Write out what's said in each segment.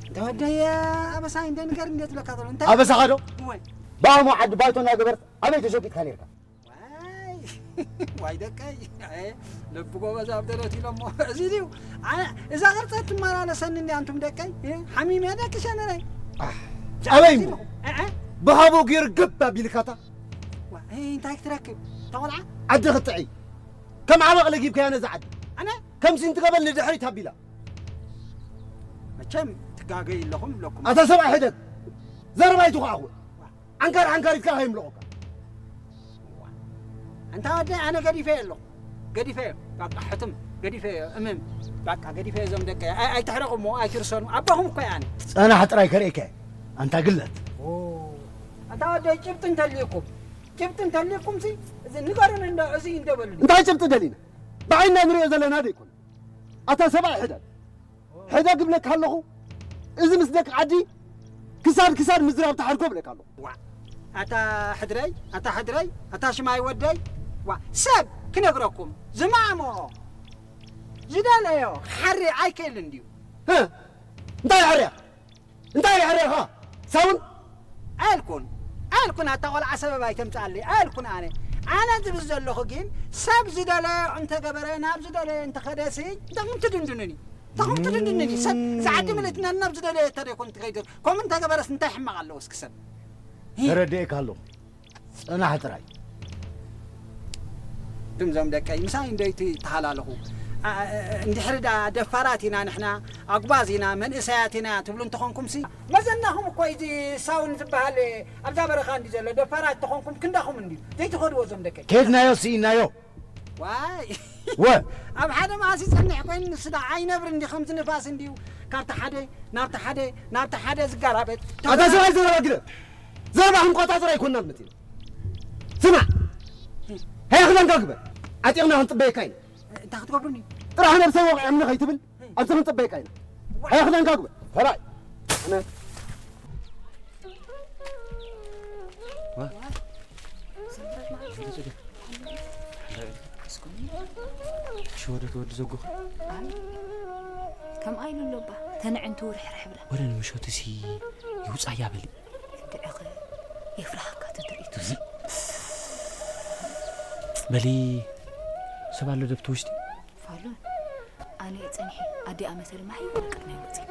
እንተ ወደየ ኣበሳይ እንደ ንገር እንደ ትብለካ ዘሎ እንታይ ኣበሳኻ ዶ ወይ ብኣሞ ዓዲ ባይቶ እናገበርት ኣበይ ተሸቂጥካ ነርካ ዋይ ዋይ ደቀይ ኣይ ልብ ጎበዝ ኣብ ደረት ኢሎሞ እዚ ድዩ ኣነ እዛ ቅርጸ ትመላለሰኒ እንዲ ኣንቱም ደቀይ ሓሚም እየ ደቂ ሸነረይ ኣበይ እሞ እ- እ- ብሃቦ ገይር ገብ ኣቢልካታ ዋ፣ እ፣ እንታይ ክትረክብ ተቆልዓ ዓዲ ክትጥዒ ከም ዓበቕ ለጊብካያ ነዛ ዓዲ ኣነ ከምዚ እንትገበል ንድሕሪት ኣቢላ መቸም ትጋገይ ኣለኹም ኣለኩም ኣታ ሰብኣይ ሕደግ ዘረባ ይትኹዓኹ ዓንካር ዓንካሪትካ ከይምልቑካ እንታ ወደ ኣነ ገዲፈ ኣለኹ ገዲፈ ባቃ ሕትም ገዲፈ እምም ባቃ ገዲፈ እዞም ደቀ ኣይ- ኣይትሕረቑሞ ኣይትርሰኑ ኣባኹም እኮ ኣነ ጸናሕ ጥራይ ከርእየካ ኣንታ ግለት ኣታ ወደ ጭብጥ እንተልዩኩም ጭብጥ እንተልዩኩም ሲ እዚ ንገሩን እንዶ እዚ እንደበሉ እንታይ ጭብጢ ደሊና ብዓይና ንሪኦ ዘለና ደይኮነ ኣታ ሰብኣይ ሕደግ ሕደግ እብለካ ኣለኹ እዚ ምስ ደቂ ዓዲ ክሳድ ክሳድ ምዝራብ ተሓድጎ እብለካ ኣለኹ ዋ ኣታ ሕድረይ ኣታ ሕድረይ ኣታ ሽማይ ወደይ ዋ ሰብ ክነግረኩም ዝማሞ ዝደለዮ ሓሪ ኣይክእል እንድዩ ህ? እንታይ ይሕርያ እንታይ ይሕርያኻ ሳውን ኣልኩን ኣልኩን ኣታ ቆልዓ ሰበብ ኣይተምፅኣለይ ኣልኩን ኣነ ኣነ ዝብል ዘለኹ ግን ሰብ ዝደለዮ እንተገበረ ናብ ዝደለዮ እንተኸደሲ እንተኹም ትድንድኑኒ እንተኹም ትድንድኑኒ ሰብ ዝዓዲ ምልእትና ናብ ዝደለዮ እተደይኮን ትኸይድ ከምኡ እንተገበረስ እንታይ ሕማቕ ኣለዎ እስኪ ሰብ ተረድኤካ ኣለኹ ጸናሕ ጥራይ ድምዞም ደቀይ ምሳይ እንደይቲ ተሃላለኹ እንድሕሪ ዳ ደፋራት ኢና ንሕና ኣጉባዝ ኢና መንእሰያት ኢና ትብሉ እንተኾንኩም ሲ መዘናኹም እኮ እዚ ሳውን ዝበሃል ኣብዛ በረኻ እንዲ ዘሎ ደፋራት ተኾንኩም ክንዳኹም እንዲ ዘይትኸድዎ ዞም ደቀይ ከድናዮ ስኢናዮ ዋይ ወ ኣብ ሓደ መዓሲ ጸንሕ ኮይኑ ንስዳ ኣይነብር እንዲ ከምዚ ንፋስ እንዲዩ ካብቲ ሓደ ናብቲ ሓደ ናብቲ ሓደ ዝጋራበት ኣታ ሰብኣይ ዘረባ ግደ ዘረባ ክንቆጻጸር ኣይኮንና ንመጺና ስማዕ ሃያ ክዳንካ ግበር ዓጢቕና ክንጽበየካ ኢና እንታይ ክትገብሩኒ ጥራሕ ነብሰይ ወቕዐምኒ ከይትብል ኣንተ ክንጽበየካ ኢና ሃያ ክዳንካ ግበር ሰብኣይ ሽወደት ወዲ ዘጎኸ ከምኣ ኢሉ ኣሎ ባ ተንዕንቱ ርሕርሕ ብላ ወደ ንምሸቱ ሲ ይውፃያ በሊ ድዕኸ የፍራሃካ ተትርኢቱ በሊ ሰብ ኣሎ ደብቲ ውሽጢ ፋሉን ኣነ ጸኒሒ ኣዲኣ መሰል ማሒ ወደ ቅድመ ይወፅእ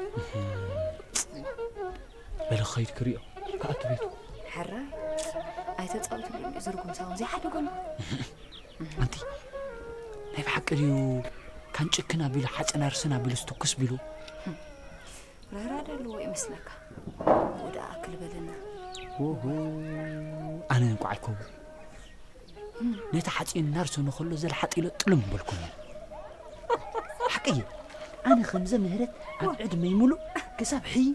በሊ ኸይድ ክሪኦ ከኣቱ ቤቱ ሕራይ ኣይተፃወትሉ ዝርጉም ሳውን ዘይሓደጎም ኣንቲ ናይ ብሓቂ ድዩ ካንጭክን ኣቢሉ ሓፅን ኣርስን ኣቢሉ ዝትኩስ ቢሉ ራህራደ ኣለዎ ይመስለካ ወደ ኣክል በለና ኣነ እንኳ ኣይከውን ነቲ ሓፂን እናርሰኑ ከሎ ዘልሓጢሎ ጥልም በልኩኒ ሓቀየ ኣነ ከምዘ ምህረት ኣብ ዕድመይ ሙሉእ ክሳብ ሕይ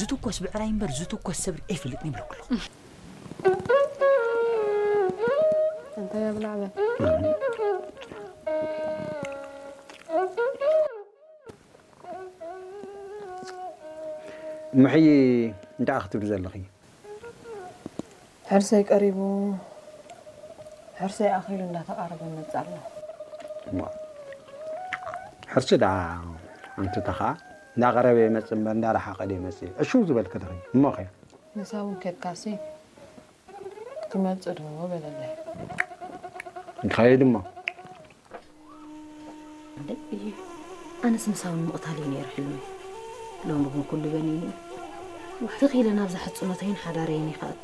ዝትኮስ ብዕራይ እምበር ዝትኮስ ሰብሪ ኣይፈልጥን ይብለኩ ኣለኹ እንታይ ኣብላዕበ ምሕይ እንታይ ክትብሊ ዘለኺ ሕርሰይ ቀሪቡ ሕርሰይ ኣኺሉ እንዳተቓረበ መጽእ ኣሎ ሕርሲ ደኣ ኣንትታ ኸዓ እንዳቐረበ ይመጽእ እምበር እንዳረሓቐ ዶ ይመጽእ እሽው ዝበልክ ድኺ እሞ ኸ ንሳ እውን ከድካሲ ክትመጽእ ዶ በለለይ ንኸይድ እሞ ኣነስ ምሳውን ምቕታል እዩ ነይሩ ሕልሚ ሎሚ ግን ኩሉ በኒኑ እዩ ትኺለ ናብዛ ሕፅኖተይን ሓዳረይን ይኸኣቱ